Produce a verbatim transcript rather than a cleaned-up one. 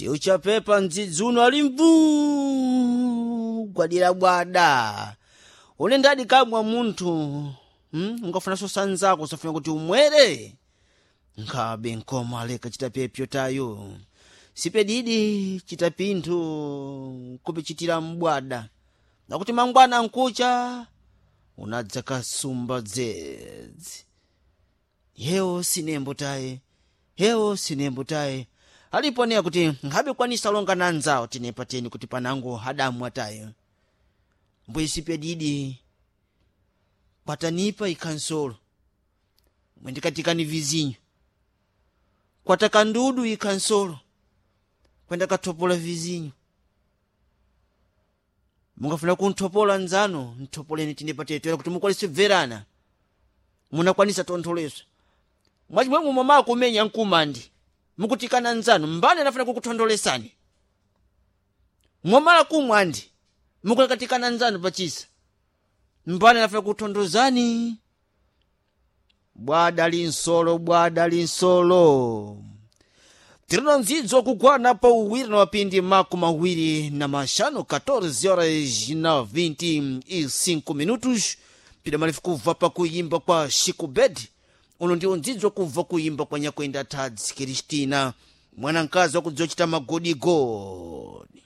Tiuchapepa mdzidzuno ali mvuu gwadira bwada une ndadi kamwa munthu, hmm? Ungafunanso sanzako usafuna kuti umwere nkhabe nkoma aleka chitapepyo tayo sipedidi chitapinthu kupichitira mbwada nakuti mangwana nkucha unadza kasumba dzedzi yewo sinembo taye, hewo sinembo taye alipo neya kuti nkhabe kwanisa longa na anzawo tinepa teni kuti panango adamwa tayo mbwesipedidi kwatanipa ikhansolo mwendikatikani vizinyo kwatakandudu ikhansolo kwenda kathopola vizinyo. Mungafuna kunthopola nzano nthopoleni tinepa tetera kuti mukwanise bverana munakwanisa tontholeso mwachimwemwe mwamakumenya nkumandi mukutikana nzanu mbani anafuna kukuthondolesani mwamala kumwa andi mukulakatikana nzanu pachisa mbani anafuna kukuthondozani. Bwada linsolo, bwada linsolo tirino nzidzo kugwana pa uwiri na mapindi makumi awiri na maxanu, catorze horas na vinte e cinco minutos, pida malifu kubva pakuyimba kwa Chico Bed. Uno ndiwo ndzidzo kubva kuyimba kwa Nyakwenda Tadzi Kristina, mwanamkazi wakudziwa chita magodigodi.